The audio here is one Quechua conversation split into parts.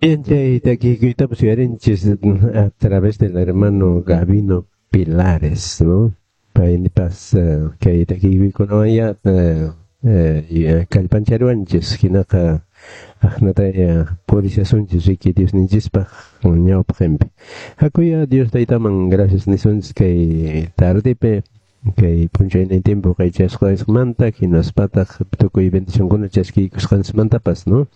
Bien, chay takiykuytapas uyarinchis a través del hermano Gabino Pilares, ¿no? Paypas kay takiykuykunawan kallpancharuwanchis, hinaqa aqnataya purishasunchis riki Diosninchispaq ñawpaqinpi. Hakuya Dios Taytaman gracias nisunchis kay tardepi, kay p'unchaynin tiempo qaychasqaysqmanta, hinaspataq tukuy bendicionkuna chaskiykusqanchismantapas, ¿no?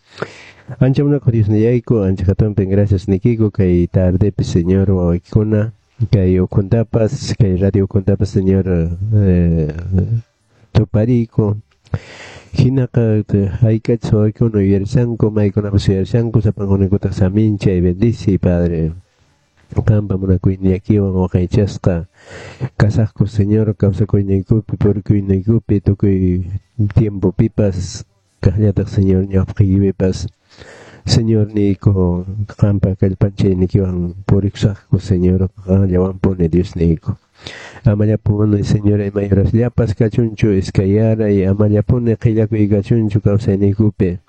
Ancha munakuq Diosnillayku, ancha hatunpin gracias nikiku kay tardepi, Señor, wawaykikuna, kay ukhuntapas, kay radio ukhuntapas, Señor, tupariku. Hinaqa hayk'achus wawaykuna yuyarishanku, maykunapas yuyarishanku, sapankunaykutaq saminchay, bendice, Padre. Qampa munakuyniyakiwan waqaychasqa kasaqku, Señor, kawsakuyniykupi, purikuyniykupi, tukuy tiempopipas, kaqllataq, Señor, ñawpaqiykipipas, Señor niyku, qampa kallpanchaynikiwan purikusaqku, Señor, qanllawanpuni, Dios niyku. Amallapuni, Señor, imay horasllapas kachunchu iskayaray, amallapuni qillakuy kachunchu kawsayniykupi.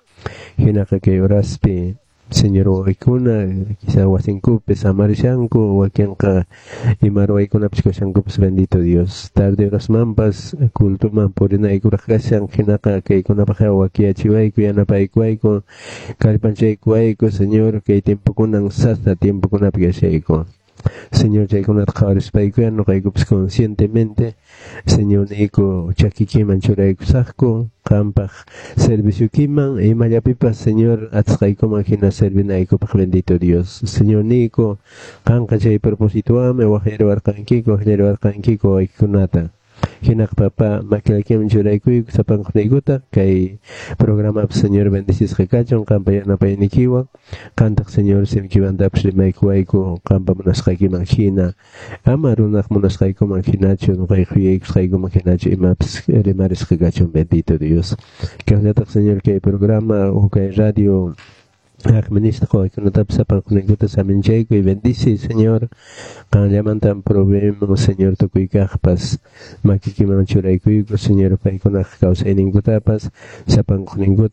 Hinaqa kay horaspi, Señor, wawaykuna quizá wasinkupi samarishanku, wakinqa ima ruwaykunapas kashankupas, bendito Dios. Tarde horasmanpas cultuman purinaykuraq kashan, hinaqa kaykunapaq wakiyachiwayku, yanapaykuwayku, kallpanchaykuwayku, Señor, kay tiempokunan sasa tiempokunapi kashayku. Señor, chaykunata qhawarispaykuya ñuqaykupas conscientemente, Señor niyku, chakikiman churaykusaqku, qampaq servicioykiman, imallapipas, Señor, atisqaykuman hina servinaykupaq, bendito Dios. Señor niyku, qanqa chay propósitowanmi waqllariwarqankiku, waqllariwarqankiku wawaykikunata. Hinaqa, papá, makilaykiman churaykuyku sapankunaykuta, kay programapas, Señor, bendecisqa kachun qampa yanapaynikiwan, qantaq, Señor, simiykimantapas rimaykuwayku qampa munasqaykiman hina, ama runaq munasqaykuman hinachu, ñuqayku yuyaykusqaykuman hinachu imapas rimarisqa kachun, bendito Dios. Kaqllataq, Señor, kay programa o kay radio administraq wawaykunatapas sapankunaykuta saminchayku y bendice, Señor. Qanllamantan proveemos, Señor, tukuy kaqpas makikiman churaykuyku, Señor, paykunaq kawsayninkutapas sapankuninkuta.